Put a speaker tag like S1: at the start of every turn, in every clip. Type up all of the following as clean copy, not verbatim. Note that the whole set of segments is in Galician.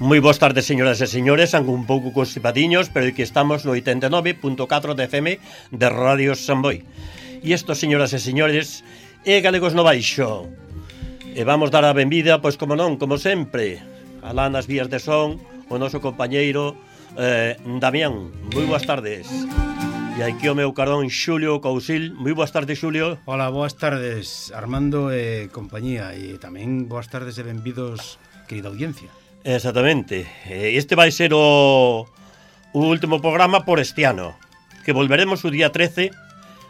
S1: Moi boas tardes, señoras e señores, aunque un pouco constipadiños, pero aquí estamos no 89.4 de FM de Radio Samboy. E isto, señoras e señores, é Galegos no Baixo. E vamos dar a benvida, pois como non, como sempre, alá nas vías de son, o noso compañeiro Damián. Moi boas tardes. E aquí o meu carón Xulio Cousil. Moi boas tardes, Xulio.
S2: Hola, boas tardes, Armando e compañía. E tamén boas tardes e benvidos, querida audiencia.
S1: Exactamente. Este vai ser o último programa por este ano, que volveremos o día 13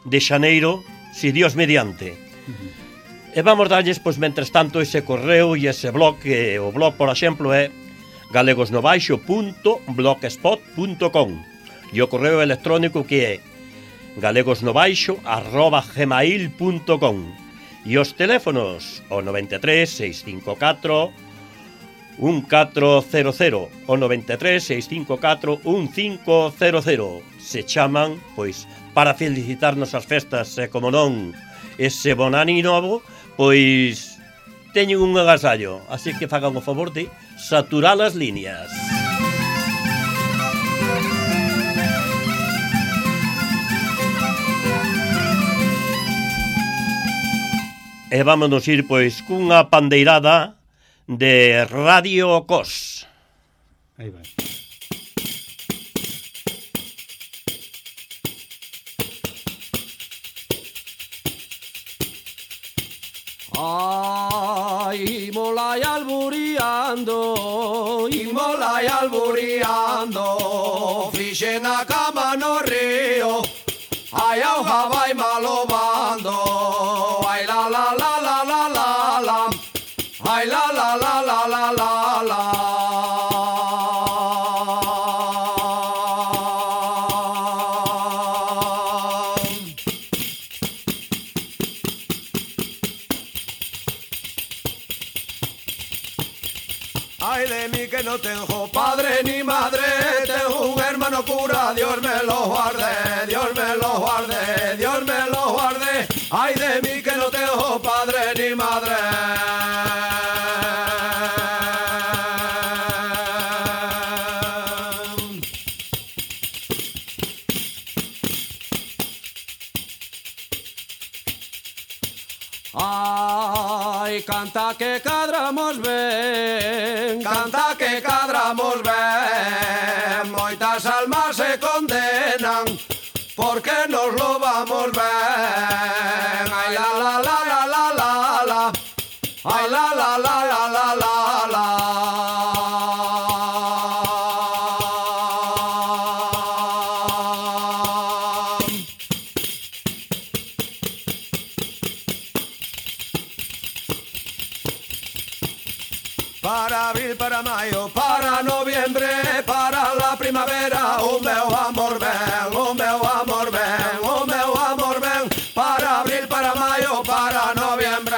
S1: de xaneiro, si Dios mediante. E vamos darlles, pois, mentres tanto, ese correo e ese blog, que o blog, por exemplo, é galegosnobaixo.blogspot.com e o correo electrónico que é galegosnobaixo@gmail.com e os teléfonos o 93 654 1400 o 93 654 1500. Se chaman, pois, para felicitarnos as festas e, como non, ese bon ano novo, pois teñen un agasallo, así que fagan o favor de saturar as líneas. E vámonos ir, pois, cunha pandeirada de Radio Cos.
S2: Aí vai.
S3: Ay, molai alburiando, fixe na cama no río, ai auja vai malobando, ai la la la la la la la, ai la la la la la la la. Ay de mí que no tengo padre ni madre, tengo un hermano cura, Dios me lo guarde, Dios me lo guarde, Dios me lo guarde. Ay de mí que no tengo padre ni madre. Ay, canta que cadramos ben, canta que cadramos ben, moitas almas se condenan, porque nos lo vamos ben. Ay la la la la la la la, ay la la la la la la la. Para abril, para maio, para noviembre, para la primavera, o meu amor ven, o meu amor ven, o meu amor ven. Para abril, para maio, para noviembre.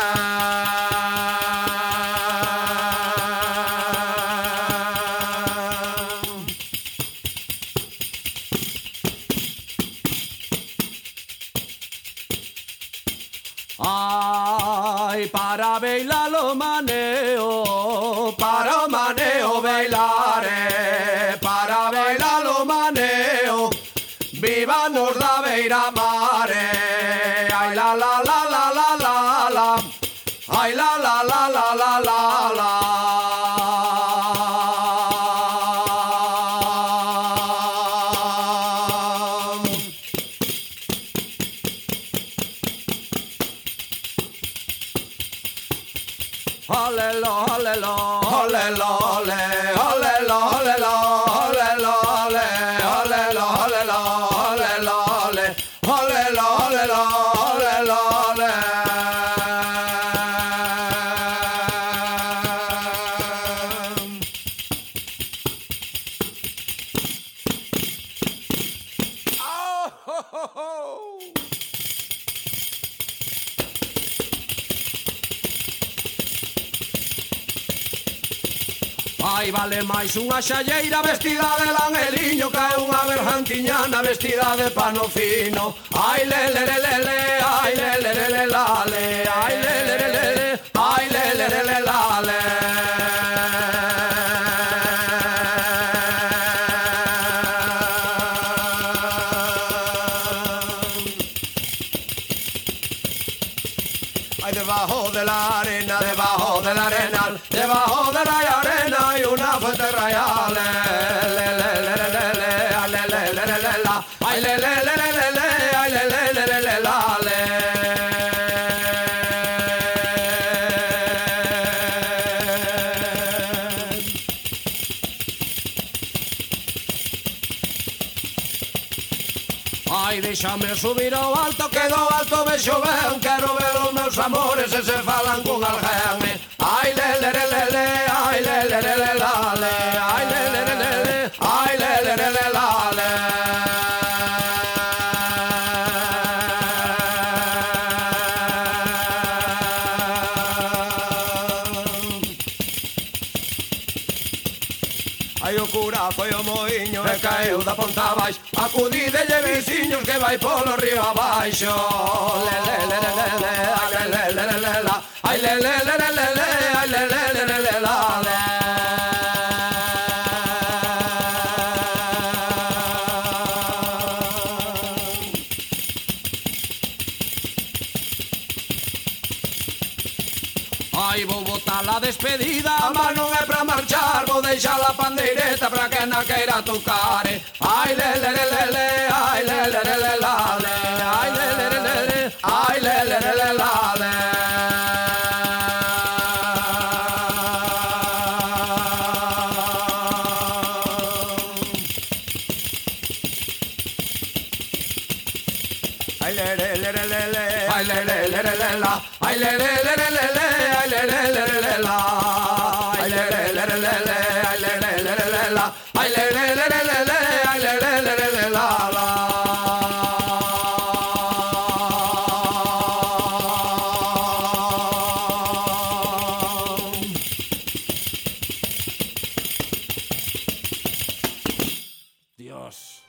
S3: Ay, para bailar lo maneo, para o maneo bailare, para bailar lo maneo, vívanos da beira mare. Ay la la la la la la la, ay la la la la la la la. Olelo, olelo, olelo, ole, olelo, olelo, olelo, ole, olelo, olelo, olelo, ole, olelo, ole, ole, ole. Ai, vale máis unha xalleira vestida de langeliño que unha bergantiñana vestida de pano fino. Ai, le, le, le, le, le, ai, le, le, le, le, la, le, ai, le, le, le, le, le, ai, le, le, le, le, la, le. Ay, debajo de la arena, debajo del arenal, debajo de la arena hay una fuente real. Le, le, le, le, le, le, ay, le, le, le, le, le, la, ay, le, le, le, le, le, le, ay, le, le, le, le, le, la, le. Ai, déxame subir ao alto, que do alto vexo ben, quero ver os meus amores e se falan con alguén. Ai, le, le, le, le, le, ai, le, le, le, le, la, le, ai, le, le, le, le, le, ai, le, le, le, le, la, le. Ai, o cura foi o moiño e caeu da ponta abaixo, acudidelle veciños que vai polo río abaixo. Le, le, le, le, le, le, ai, le, le, le, le, le, la, ai, le, le, le, le, le, le, ai, le, le, le, le, le, la, le. Ai, vou botar a despedida, mas non é pra marchar, vou deixar a pandeireta pra que na queira tocar. Ai, le, le, le, le, le, ai, le, le, le, le, la, le, ai, le, le, le, le, le, ai, le, le, le, le, la, le. Ai, le, le, le, le, le, le, ai, le, le, le, le, le, la, ai, le, le, le, le, le, le, ai, le, le, le, le, le, la, ai, le, le, le, le, le, le, ai, le, le, le, le, le, la, ai, le, le, le, le, le, le, ai, le, le, le, le, le, la, la. Dios.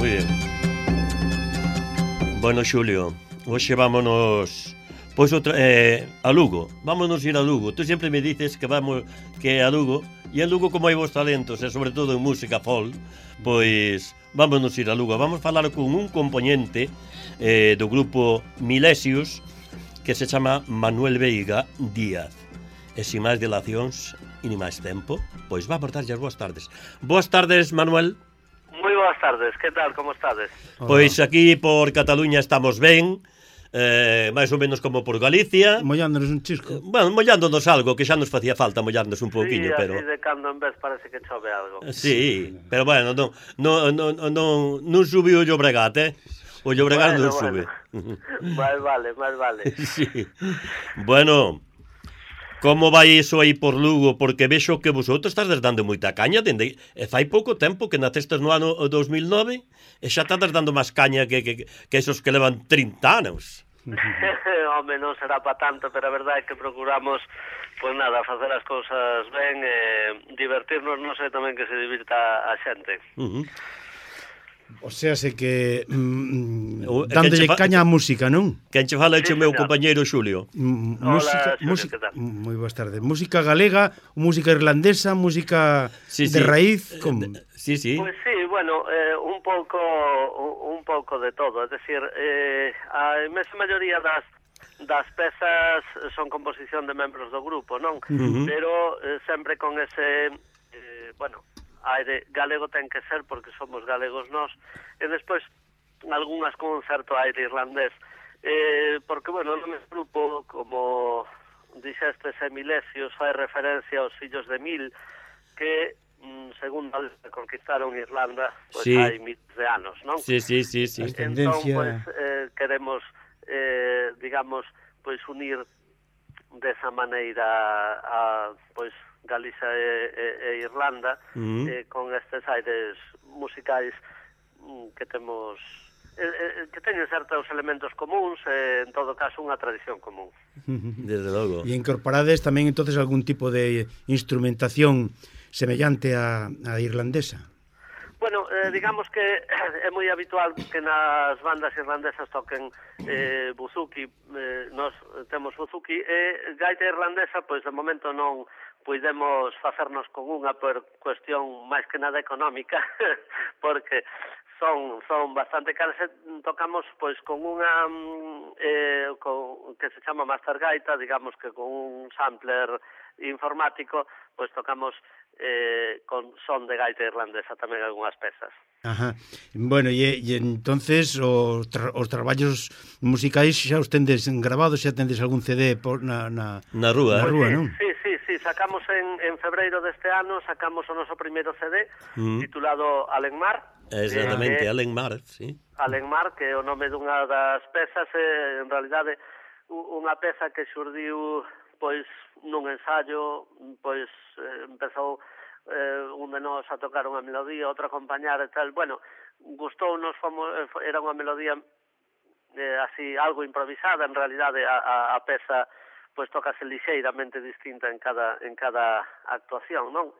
S1: Muy bien. Bueno, Xulio, hoxe vámonos pois a Lugo. Vámonos ir a Lugo. Tú sempre me dices que vamos que a Lugo, e en Lugo como hai vos talentos, e sobre todo en música folk, pois vámonos ir a Lugo. Vamos falar con un componente do grupo Milesius que se chama Manuel Veiga Díaz. E sin máis dilacións e ni máis tempo, pois vamos darlle as boas tardes. Boas tardes, Manuel.
S4: Moi boas tardes, que tal, como estades?
S1: Pois aquí por Cataluña estamos ben, máis ou menos como por Galicia.
S2: Mollándonos un chisco.
S1: Bueno, mollándonos algo, que xa nos facía falta mollarnos un pouquiño,
S4: Sí,
S1: pero...
S4: así de cando en vez parece que chove algo.
S1: Sí, pero bueno, non subiu o Llobregat, O Llobregat non sube.
S4: Máis vale.
S1: Sí. Bueno, como vai iso aí por Lugo? Porque vexo que vosotros estás dando moita caña dende... fai pouco tempo que nacestes no ano 2009 e xa estás dando máis caña que esos que levan 30 anos.
S4: Home, non será pa tanto, pero a verdade é que procuramos, pois nada, facer as cousas ben, divertirnos, non sei tamén que se divirta a xente.
S2: O sea, se que dándolle caña á música, non?
S1: Quen che fala é o meu
S4: señor.
S1: compañeiro Xulio.
S2: Música,
S4: Xulio, que tal?
S2: moi boas tardes. Música galega, música irlandesa, música
S1: Sí,
S2: de
S1: sí.
S2: raíz, como?
S1: Sí.
S4: Pois sí, bueno, un pouco de todo, é dicir, a inmensa maioría das pezas son composición de membros do grupo, non? Pero sempre con ese, bueno, aire galego ten que ser porque somos galegos nós, e despois algunhas con un certo aire irlandés, porque, bueno, no meu grupo, como dixestes, Emilesios fai referencia aos fillos de Mil, que según conquistaron Irlanda, pois
S1: Sí.
S4: hai miles de anos, non?
S1: Sí.
S4: Entón, pois, queremos, digamos, pois unir desa maneira a, pois, Galicia e Irlanda, con estes aires musicais que temos, que teñen certos elementos comuns, en todo caso unha tradición común.
S1: Desde logo.
S2: E incorporades tamén entonces algún tipo de instrumentación semellante a irlandesa?
S4: Bueno, digamos que é moi habitual que nas bandas irlandesas toquen buzuki, nós temos buzuki, e gaita irlandesa, pois de momento non puidemos facernos con unha por cuestión máis que nada económica, porque son bastante caras, tocamos pois con unha que se chama Master Gaita, digamos que con un sampler informático, pois tocamos con son de gaita irlandesa tamén algunhas pezas.
S2: Ajá. Bueno, e entonces os traballos musicais xa os tendes grabados, xa tendes algún CD na
S1: rúa,
S2: non?
S4: Sí, sacamos en febreiro deste ano, sacamos o noso primeiro CD titulado Alenmar.
S1: Exactamente, Alenmar, sí.
S4: Alenmar, que é o nome dunha das pezas, en realidade unha peza que xurdiu pois nun ensayo, pois empezou un de nós a tocar unha melodía, outro a acompañar e tal. Bueno, gustounos, era unha melodía así algo improvisada, en realidade a peza pois tócase lixeiramente distinta en cada actuación, non?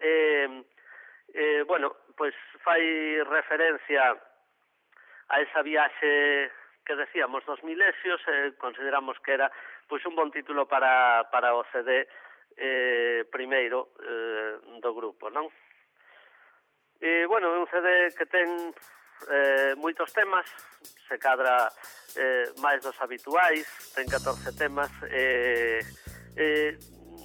S4: Bueno, pois fai referencia a esa viaxe que decíamos dos Milesios, consideramos que era pois un bon título para o CD primeiro do grupo, non? Bueno, é un CD que ten moitos temas, se cadra máis dos habituais, ten 14 temas,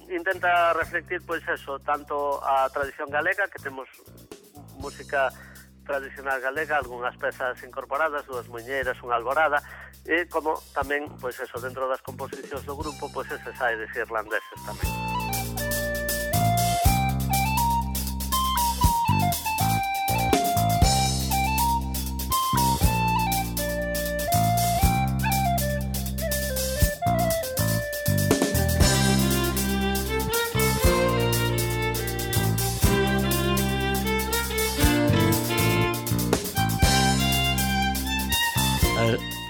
S4: intenta reflectir, pois eso, tanto a tradición galega, que temos música tradicional galega, algunhas pezas incorporadas, dúas muiñeiras, unha alborada, e como tamén, pois eso, dentro das composicións do grupo, pois eses aires irlandeses tamén.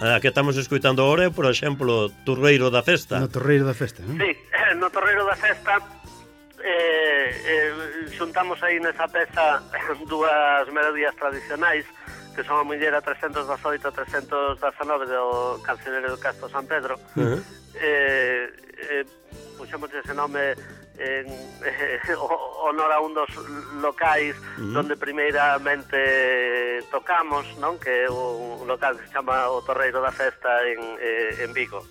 S1: A que estamos escoitando agora é, por exemplo, Torreiro da Festa.
S2: No Torreiro da Festa, non?
S4: Sí, no Torreiro da Festa xuntamos aí nesa peza dúas melodías tradicionais, que son a muñeira 318 e 319 do Cancioneiro do Castro San Pedro. Puxemos ese nome en honor a un dos locais donde primeiramente tocamos, non? Que é un local que se chama o Torreiro da Festa en Vigo.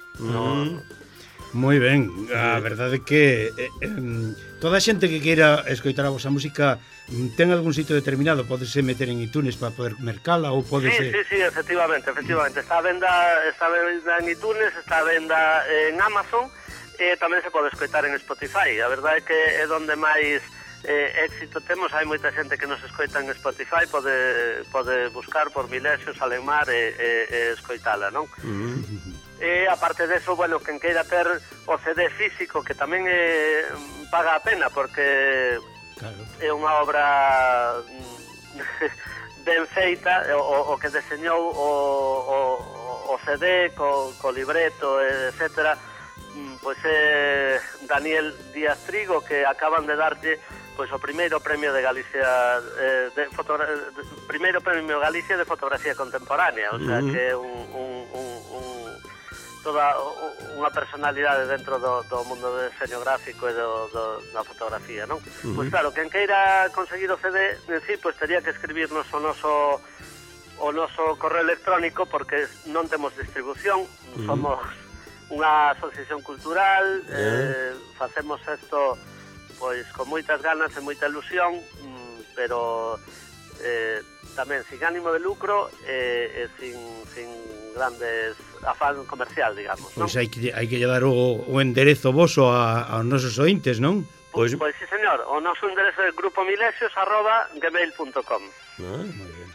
S2: Moi ben, a verdade é que toda a xente que queira escoitar a vosa música ten algún sitio determinado, podese meter en iTunes para poder mercala ou podese...
S4: Sí, efectivamente. Está a venda en iTunes, está a venda en Amazon, e tamén se pode escoitar en Spotify. A verdade é que é donde máis éxito temos, hai moita xente que nos escoita en Spotify, pode buscar por Milesios, Alemar e escoitala, non? E aparte deso, bueno, quen queira ter o CD físico, que tamén paga a pena, porque é unha obra ben feita, o que deseñou o CD co libreto, etcétera, pois é Daniel Díaz Trigo, que acaban de darlle pois o primeiro premio de Galicia primeiro premio Galicia de fotografía contemporánea, o sea que é toda unha personalidade dentro do mundo do diseño gráfico e da fotografía, non? Pois claro, quen queira conseguir o CD, en sí, pois teria que escribirnos o noso correo electrónico, porque non temos distribución, somos unha asociación cultural, facemos isto pois con moitas ganas e moita ilusión, pero tamén sin ánimo de lucro e sin grandes afán comercial, digamos, non?
S2: Pois hai que dar o enderezo voso aos nosos ointes, non?
S4: Pois sí, señor, o noso enderezo é grupomilesios@gmail.com.
S2: Moi ben.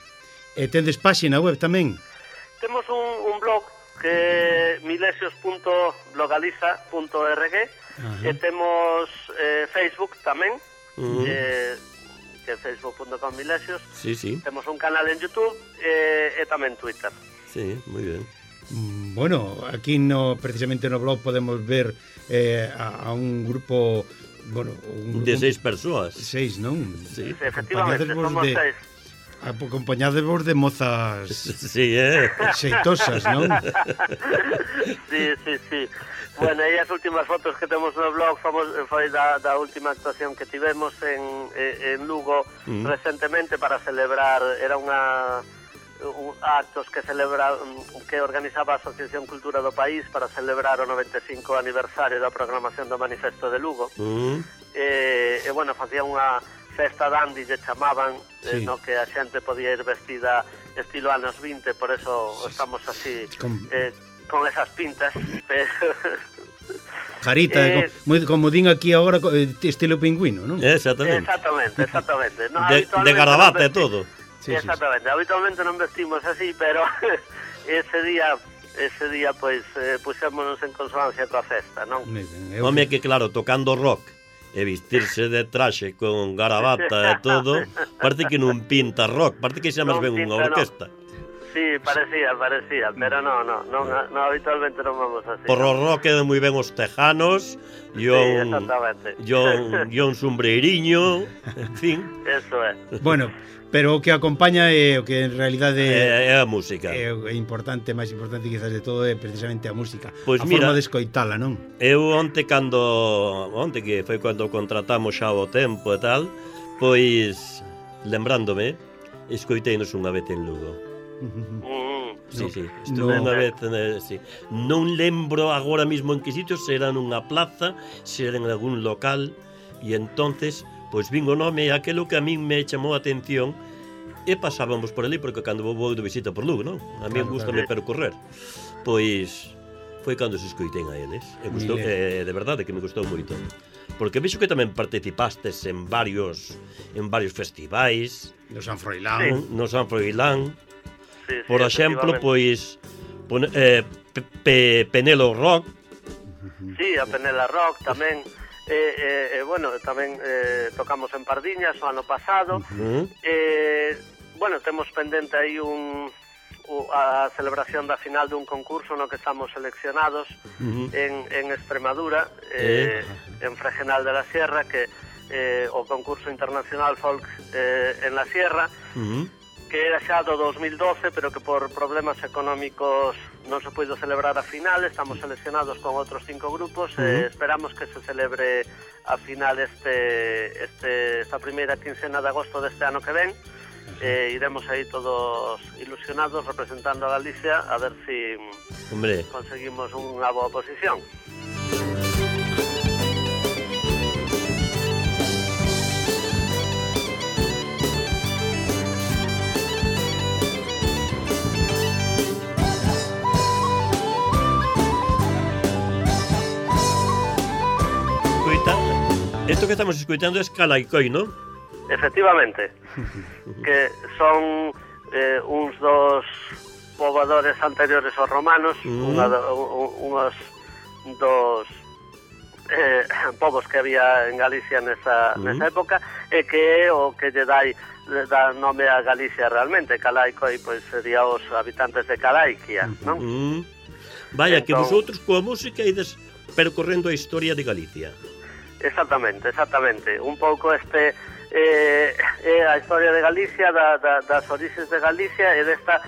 S2: E tendes páxina web tamén?
S4: Temos un blog que é milesios.blogaliza.org e temos Facebook tamén, que é facebook.com/milesios.
S1: Sí, sí.
S4: Temos un canal en YouTube e tamén Twitter.
S1: Sí, moi ben.
S2: Bueno, aquí precisamente no blog podemos ver a un grupo, bueno,
S1: de 6 persoas.
S2: 6, non?
S1: Sí.
S4: Efectivamente, somos 6.
S2: Acompañadevos de mozas
S1: sí,
S2: xeitosas, non?
S4: Sí. Bueno, e as últimas fotos que temos no blog foi da última actuación que tivemos en Lugo recentemente para celebrar, era actos que organizaba a Asociación Cultura do País para celebrar o 95 aniversario da programación do Manifesto de Lugo. E bueno, facía unha festa dandy, lle chamaban, no que a xente podía ir vestida estilo anos 20, por eso estamos así con esas pintas.
S2: Carita, como din aquí agora, estilo pingüino, non?
S1: Exactamente.
S4: No,
S1: de garabato e todo.
S4: Sí, exactamente, habitualmente non vestimos así, pero ese día pois puxémonos en consonancia coa festa, non?
S1: Home, que claro, tocando rock e vestirse de traxe con garabata e todo, parece que non pinta rock, parece que xa máis ben unha orquesta.
S4: Sí, parecía, pero no, habitualmente non vamos así.
S1: Por o rock quedan moi ben os tejanos, e un sombreiriño, en fin.
S4: Eso é.
S2: Bueno, pero o que acompaña é o que en realidade
S1: é a música.
S2: É importante, máis importante quizás de todo é precisamente a música.
S1: Pois
S2: a
S1: mira,
S2: forma de escoitala, non?
S1: Eu onte que foi cando contratamos xa o tempo e tal, pois lembrándome, escoiteinos unha vez en Lugo. Sí, estuve unha vez, sí. Non lembro agora mismo en que sitio, se era nunha plaza, se era en algún local, e entonces pois vin o nome e aquelo que a min me chamou a atención, e pasábamos por ali, porque cando vou de visita por Lugo, non? A mí gustame percorrer. Pois foi cando se escoitei a eles, e gustou, de verdade que me gustou moito, porque vexo que tamén participastes en varios festivais,
S2: no San Froilán.
S1: Por exemplo, pois Penelo Rock.
S4: Sí, a Penela Rock tamén. Bueno, tamén tocamos en Pardiñas o ano pasado. Bueno, temos pendente aí a celebración da final dun concurso no que estamos seleccionados en Extremadura, en Fregenal de la Sierra, que o concurso internacional Folk en la Sierra, que era xa do 2012, pero que por problemas económicos non se puido celebrar a final. Estamos seleccionados con outros 5 grupos, esperamos que se celebre a final esta primeira quincena de agosto deste ano que ven. Iremos aí todos ilusionados representando a Galicia, a ver si conseguimos unha boa posición.
S1: Esto que estamos escuchando es Calaicoi, ¿no?
S4: Efectivamente, que son uns dos pobladores anteriores aos romanos, unhos dos povos que había en Galicia nesa época, e que é o que lle dá nome a Galicia realmente. Calaicoi, pois, sería os habitantes de Calaiquia, non?
S1: Vaya, que vosotros coa música ides percorrendo a historia de Galicia.
S4: Exactamente. Un pouco é a historia de Galicia, das orixes de Galicia e desta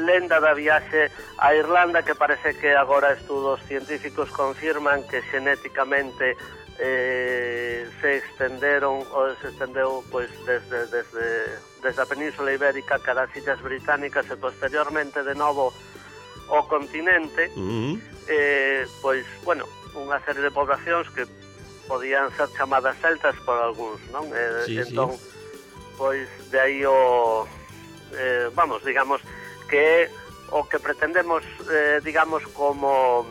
S4: lenda da viaxe a Irlanda, que parece que agora estudos científicos confirman que xenéticamente se estendeu pois desde a Península Ibérica cara as Illas Británicas e posteriormente de novo o continente, pois, bueno, unha serie de poblacións que podían ser chamadas celtas por algúns, non? Entón, pois, de aí digamos, que o que pretendemos, digamos, como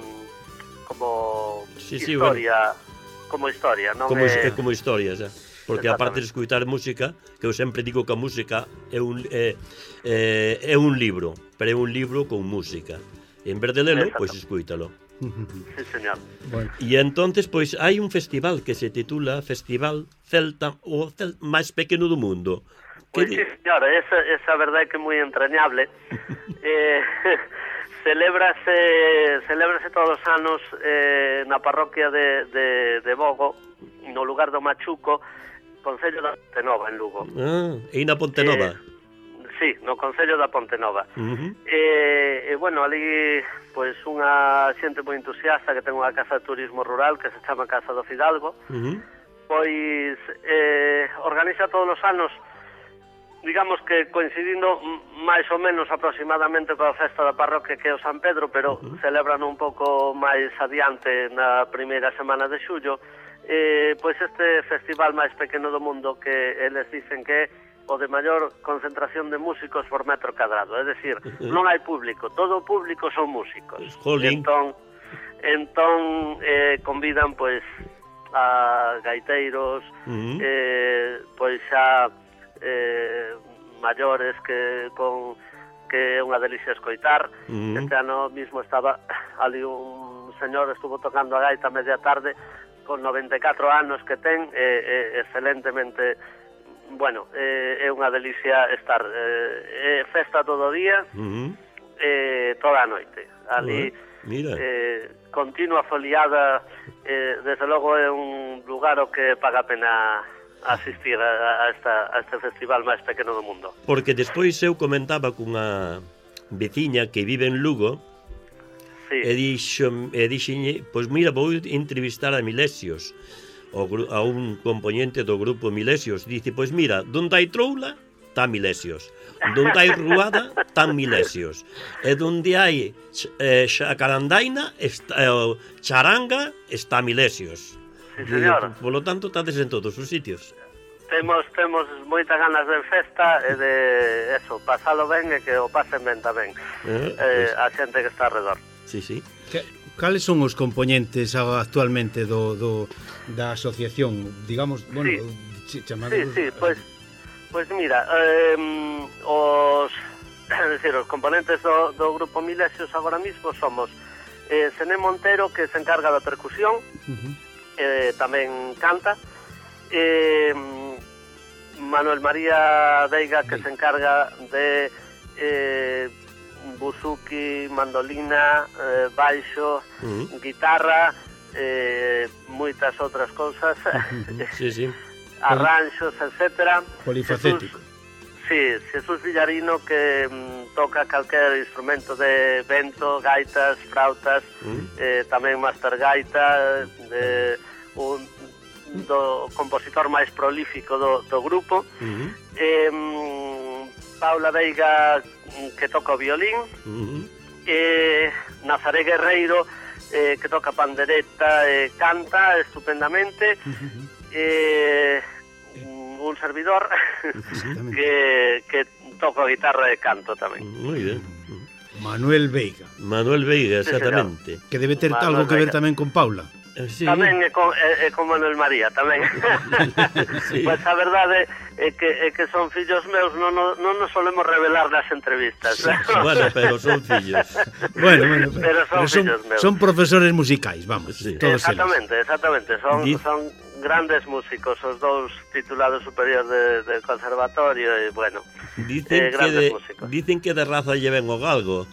S4: historia, como historia, non?
S1: Como historia, xa. Porque aparte de escutar música, que eu sempre digo que a música é un libro, pero é un libro con música. En vez de lelo, pois escúitalo.
S4: Sí, señor.
S2: Bueno.
S1: E entonces, pois, hai un festival que se titula Festival Celta, o máis pequeno do mundo.
S4: Pois sí, señor, esa verdade que é moi entrañable. Celébrase todos os anos na parroquia de Bogo, no lugar do Machuco, Concello da Pontenova, en Lugo.
S1: E na Pontenova?
S4: Sí, no Concello da Pontenova. Bueno, ali, pois, unha xente moi entusiasta que ten unha casa de turismo rural que se chama Casa do Fidalgo, pois organiza todos os anos, digamos que coincidindo máis ou menos aproximadamente coa festa da parroquia que é o San Pedro, pero celebran un pouco máis adiante na primeira semana de xullo, pois este festival máis pequeno do mundo que eles dicen que é o de maior concentración de músicos por metro cadrado, é dicir, non hai público, todo o público son músicos. Entón convidan pois a gaiteiros, pois xa maiores que é unha delicia escoitar. Este ano mismo estaba ali un señor, estuvo tocando a gaita media tarde con 94 anos que ten, excelentemente. Bueno, é unha delicia estar, festa todo o día, toda a noite. Ali, continua foliada, desde logo é un lugar o que paga a pena asistir a este festival máis pequeno do mundo.
S1: Porque despois eu comentaba cunha veciña que vive en Lugo, e dixenlle, pois mira, vou entrevistar a Milesios, a un componente do grupo Milesios. Dice, pois mira, donde hai troula, está Milesios. Donde hai ruada, está Milesios. E donde hai xacarandaina, charanga, está Milesios.
S4: Sí, señor.
S1: Por lo tanto, estades en todos os sitios.
S4: Temos moitas ganas de festa e de eso, pasalo ben e que o pasen ben tamén a xente que está alrededor.
S1: Sí.
S2: Cales son os componentes actualmente da asociación, digamos, bueno, chamados...
S4: Sí, pois mira, os componentes do grupo Milesios agora mismo somos Sené Montero, que se encarga da percusión, tamén canta, Manuel María Veiga, que se encarga de buzuki, mandolina, baixo, guitarra, moitas outras cousas, arranxos, etcétera.
S2: Polifacético.
S4: Jesús Villarino, que toca calquer instrumento de vento, gaitas, frautas, tamén master gaita, do compositor máis prolífico do grupo. Paula Veiga, que toca o violín, Nazaré Guerreiro, que toca pandereta e canta estupendamente, un servidor que toca guitarra e canto tamén.
S1: Moi ben.
S2: Manuel Veiga,
S1: exactamente.
S2: Que debe ter algo que ver tamén con Paula.
S1: Sí.
S4: Tamén é con Manuel María, tamén.
S1: Sí.
S4: Pois a verdade é que son fillos meus, non nos solemos revelar nas entrevistas.
S1: Sí. Bueno, pero son fillos.
S2: Bueno,
S4: Pero son fillos meus.
S2: son profesores musicais, vamos,
S1: Sí.
S2: todos
S4: Exactamente. Son grandes músicos, os dous titulados superiores del conservatorio e, bueno, grandes músicos.
S1: Dicen que de raza lleven o galgo.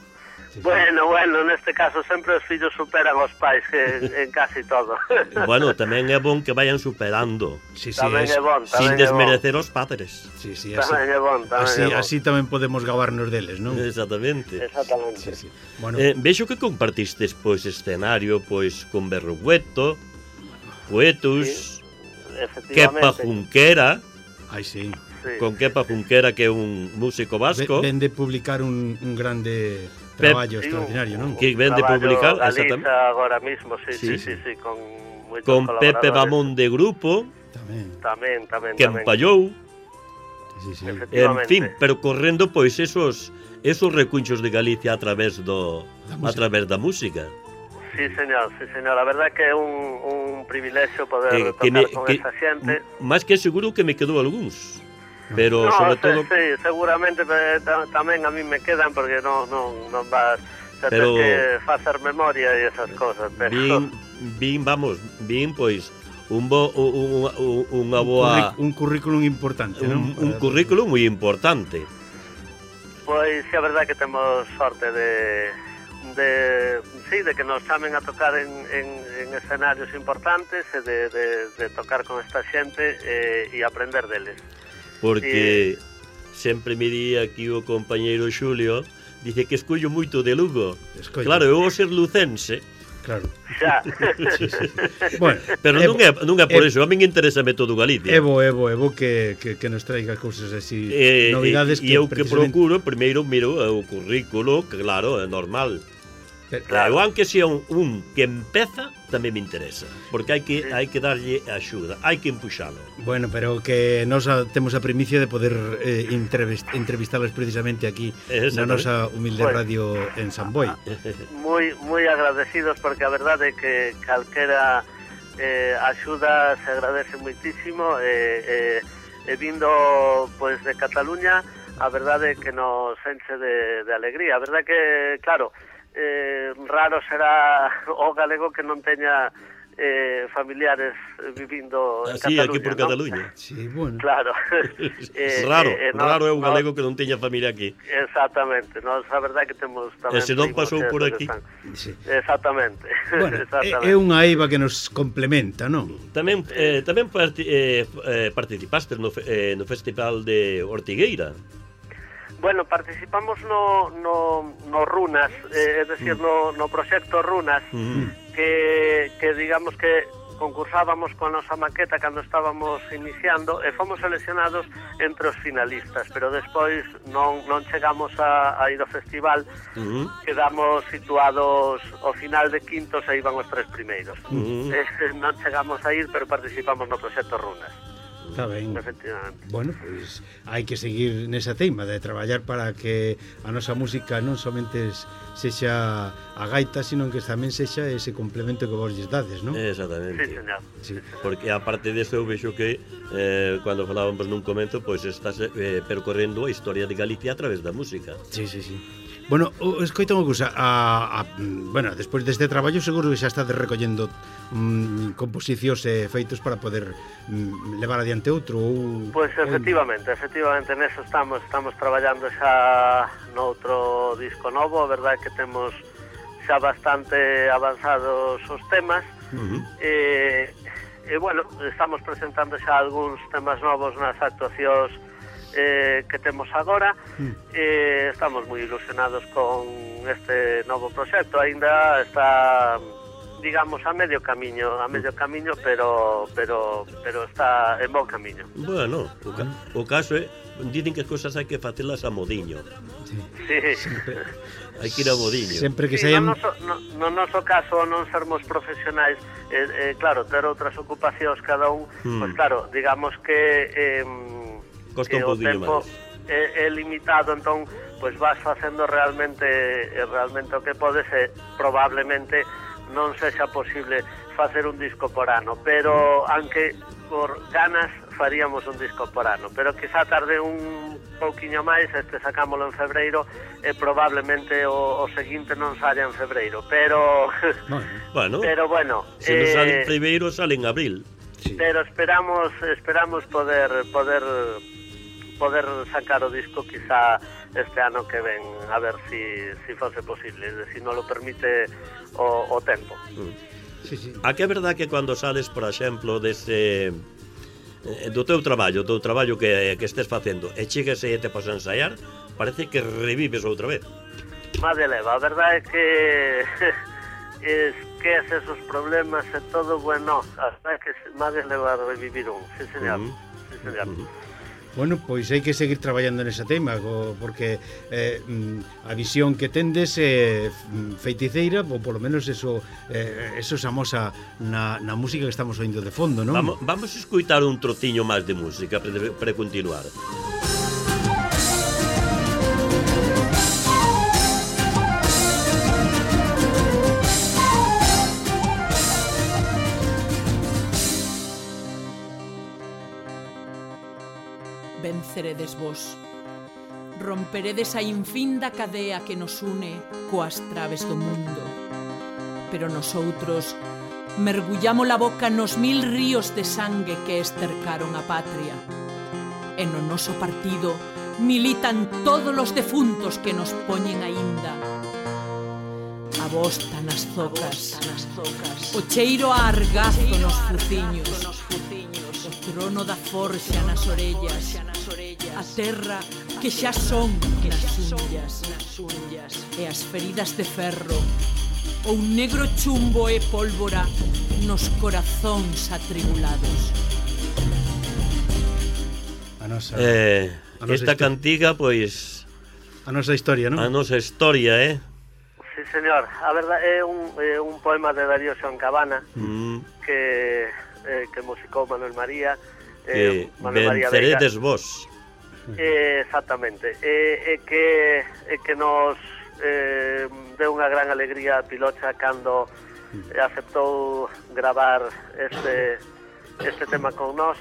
S4: Bueno, neste caso sempre os fillos superan os pais en casi todo.
S1: Bueno, tamén é bon que vayan superando,
S2: Sí,
S4: Tamén é bon,
S1: sin desmerecer os padres.
S2: Sí,
S4: Tamén é bon,
S2: así tamén podemos gabarnos deles, non?
S1: Exactamente.
S4: Exactamente.
S2: Sí. Bueno,
S1: Vexo que compartistes pois escenario pois con Berrugueto, Poetus, Kepa
S4: Efectivamente.
S1: Junquera,
S2: ai sí.
S4: Sí.
S1: con Kepa Junquera que é un músico vasco,
S2: Ven de publicar un grande traballo
S4: Sí,
S2: extraordinario, non?
S1: que ven de
S4: traballo
S1: publicar,
S4: Galiza
S1: exactamente.
S4: agora mismo,
S1: Sí.
S4: sí, con moitos
S1: Con Pepe
S4: colaboradores.
S1: Bamón de grupo,
S2: Tamén.
S4: Tamén.
S1: que empallou,
S2: Sí.
S1: en
S4: Efectivamente.
S1: fin, pero correndo pois esos recunchos de Galicia a través da música.
S4: Sí, señor. A verdade que é un privilexio poder tocar con esa xente.
S1: Máis que seguro que me quedou algúns. Pero sobre todo
S4: Sí, seguramente tamén a mí me quedan porque non vas a ter
S1: Pero-
S4: que facer memoria e esas cosas, pero
S1: vin pois unha boa
S2: Un currículum importante, non?
S1: un currículo moi importante.
S4: pois sí, a verdade que temos sorte de que nos chamen a tocar en escenarios importantes e de tocar con esta xente e aprender deles.
S1: Porque sempre me di aquí o compañeiro Xulio, dice que escollo moito de Lugo.
S2: Escollo.
S1: Claro, eu vou ser lucense,
S2: Claro.
S4: Xa.
S2: Bueno,
S1: pero non é por iso, a min interésame todo Galicia.
S2: Evo que nos traiga cousas así, novidades
S1: e eu que
S2: precisamente-
S1: procuro, primeiro miro o currículo, que claro, é normal.
S2: Claro.
S1: Eu, aunque sea un que empeza, tamén me interesa, porque hai que darlle axuda, hai que empuxalo.
S2: Bueno, pero que nos temos a primicia de poder entrevistalos precisamente aquí na nosa humilde
S4: Pues,
S2: radio en San Boi.
S4: moi agradecidos porque a verdade é que calquera axuda se agradece moitísimo e vindo pois de Cataluña a verdade é que nos enche de alegría. A verdade que, claro, raro será o galego que non teña familiares vivindo en
S1: Así,
S4: Cataluña,
S1: aquí por
S4: ¿no?
S1: Cataluña.
S2: Sí, bueno.
S4: Claro.
S1: Raro é un galego que non teña familia aquí.
S4: Exactamente, nos a verdade que temos tamén
S1: se non
S4: primos
S1: pasou
S4: que
S1: por aquí.
S4: están.
S2: Sí.
S4: Exactamente.
S2: Bueno,
S4: Exactamente.
S2: é unha eiva que nos complementa, non?
S1: Tamén participaste no Festival de Ortigueira.
S4: Bueno, participamos no Runas, é dicir, no proxecto Runas, que digamos que concursábamos con a nosa maqueta cando estábamos iniciando e fomos seleccionados entre os finalistas, pero despois non chegamos a ir ao festival, quedamos situados ao final de quintos e iban os tres primeiros. Non chegamos a ir, pero participamos no proxecto Runas.
S2: Está ben.
S4: Efectivamente.
S2: Bueno, pois hai que seguir nesa teima de traballar para que a nosa música non somente sexa a gaita, sino que tamén sexa ese complemento que vos lles dades, non?
S1: Exactamente.
S4: Sí, señor.
S2: Sí.
S1: Porque aparte desto eu vexo que cando falábamos nun comento, pois estás percorrendo a historia de Galicia a través da música.
S2: Sí. Bueno, escoita unha cousa, bueno, despois deste traballo seguro que xa estades recollendo composicións e feitos para poder levar adiante outro ou...
S4: Pois efectivamente, neso estamos traballando xa noutro disco novo, a verdade é que temos xa bastante avanzados os temas, e bueno, estamos presentando xa algúns temas novos nas actuacións que temos agora, estamos moi ilusionados con este novo proxecto, aínda está, digamos, a medio camiño, pero está en bon camiño.
S1: Bueno, o caso é, dicen que as cousas hai que facelas a modiño.
S4: Sí.
S1: Hai que ir a modiño.
S2: Sempre que
S4: Sí,
S2: saian...
S4: no noso caso non sermos profesionais, claro, ter outras ocupacións cada un, pois claro, digamos que
S1: Costa un
S4: o
S1: pouquinho
S4: tempo
S1: máis.
S4: é limitado, entón pois vas facendo realmente o que podes, probablemente non sexa posible facer un disco por ano, pero aunque por ganas faríamos un disco por ano, pero quizá tarde un pouquiño máis, sacámoslo en febreiro e probablemente o seguinte non saia en febreiro, pero
S1: bueno,
S4: pero bueno,
S1: se non sale en primeiro, sale en abril.
S2: Sí.
S4: Pero esperamos poder sacar o disco quizá este ano que ven, a ver si fose posible, si non lo permite o tempo.
S2: Sí, sí.
S1: A que é verdad que cando sales, por exemplo, dese do teu traballo que estés facendo e chegas e te pasas a ensaiar, parece que revives outra vez.
S4: Madre leva, a verdade é que esquece esos problemas e todo, bueno, hasta que madre leva a revivir un, sí señor, sí señor.
S2: Bueno, pois hai que seguir traballando nesa tema, porque a visión que tendes é feiticeira, ou polo menos eso se amosa na música que estamos oindo de fondo, non?
S1: Vamos a escutar un trociño máis de música para continuar.
S5: Venceredes vos. Romperedes a infinda cadea que nos une coas traves do mundo. Pero nosoutros mergullamos a boca nos 1000 ríos de sangue que estercaron a patria. E no noso partido militan todos os defuntos que nos poñen aínda. A bosta nas zocas, o cheiro a argazo nos fuciños, o trono da forxa nas orellas, a terra que xa son nas unllas, e as feridas de ferro, o un negro chumbo e pólvora nos corazóns atribulados.
S1: Esta cantiga, pois,
S2: a nosa historia, non?
S1: A nosa historia,
S4: Sí, señor. A verdade é un poema de Darío Xoncabana que musicou Manuel María.
S1: Venceredes vos.
S4: Exactamente. Que nos deu unha gran alegría a Pilocha cando aceptou gravar este tema con nós,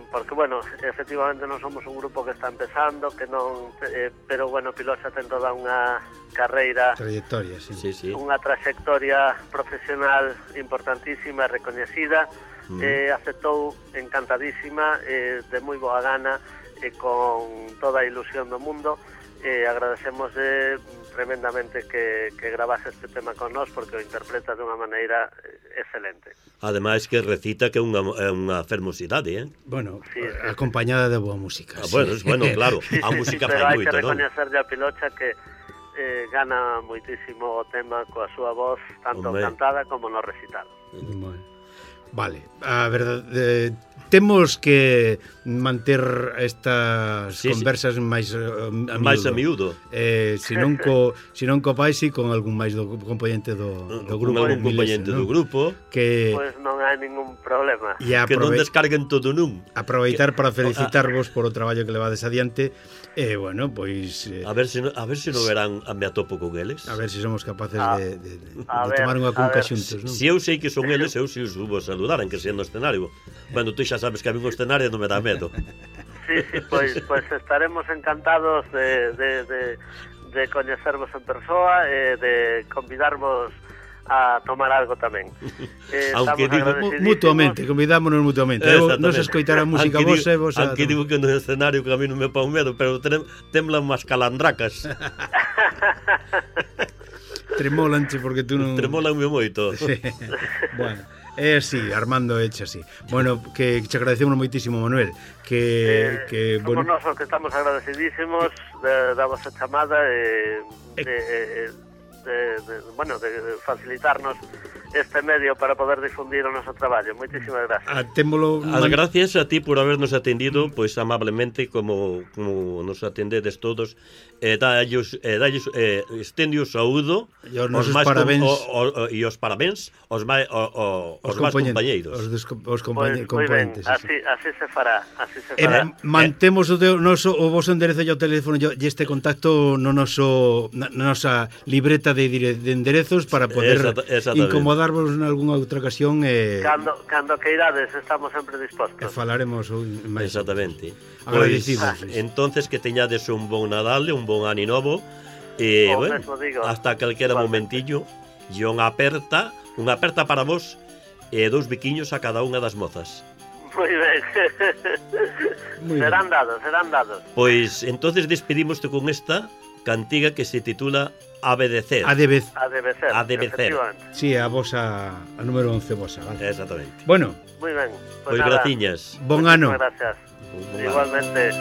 S4: porque, bueno, efectivamente non somos un grupo que está empezando, que non, pero, bueno, Pilocha ten toda unha carreira,
S2: trayectoria, sí.
S4: Unha trayectoria profesional importantísima e recoñecida. Aceptou encantadísima, de moi boa gana e con toda a ilusión do mundo. Agradecemos tremendamente que grabase este tema con nós, porque o interpreta de unha maneira excelente.
S1: Ademais que recita que é unha fermosidade,
S2: Bueno, sí. Acompañada de boa música.
S1: Bueno, claro, a música fai moito,
S4: non? Pero hai que recoñecerlle a Pilocha que gana moitísimo o tema coa súa voz, tanto cantada como no recital.
S2: Vale, a verdade, temos que manter estas conversas máis
S1: a miúdo.
S2: Se non co pais e con algún máis do componente do grupo.
S1: Con algún componente do grupo.
S4: Pois non hai ningún problema.
S1: Que non descarguen todo nun.
S2: Aproveitar para felicitarvos por o traballo que levades adiante. Bueno, pois...
S1: A ver se non verán a me atopo con eles.
S2: A ver se somos capaces de tomar unha cunca xuntos, non?
S1: Se eu sei que son eles, eu si os subo a saludar, aunque sea no escenario. Bueno, tú xa sabes que a mí un escenario non me dá medo.
S4: Sí, pois estaremos encantados de coñecervos en persoa e de convidarvos a tomar algo tamén.
S1: Aunque digo
S2: mutuamente, convidámonos mutuamente. Nos escoitar a música vos e vos a...
S1: Aunque digo que no escenario que a mí non me pon medo, pero temblan unhas calandracas.
S2: Tremolanche porque tú non...
S1: Tremolanme moito.
S2: Sí. Bueno, é así, Armando eche así. Bueno, que te agradecemos moitísimo, Manuel.
S4: Somos nós que estamos agradecidísimos da vosa chamada de facilitarnos este medio para poder difundir o noso traballo. Moitísimas gracias.
S1: As gracias a ti por habernos atendido pois amablemente como nos atendedes todos. Estende o saúdo
S2: e os nosos parabéns
S1: e os parabéns aos máis compañeiros.
S2: Os componentes.
S4: Así se fará.
S2: Mantemos o vosso enderezo e o teléfono e este contacto na nosa libreta de enderezos para poder incomodarvos en algunha outra ocasión.
S4: Cando queirades, estamos sempre dispostos.
S2: Falaremos máis.
S1: Exactamente.
S2: Agradecidos.
S1: Entonces que teñades un bon Nadal, un bon Ano Novo e hasta calquera momentillo e unha aperta para vos e 2 biquiños a cada unha das mozas.
S4: Moi ben. Serán dados.
S1: Pois entonces despedimoste con esta cantiga que se titula Adevecer.
S4: Adevecer.
S2: Sí, a número 11 vosa, vale.
S1: Exactamente.
S2: Bueno.
S4: Moi ben.
S1: Pois graciñas.
S2: Bon ano.
S4: Gracias. Igualmente.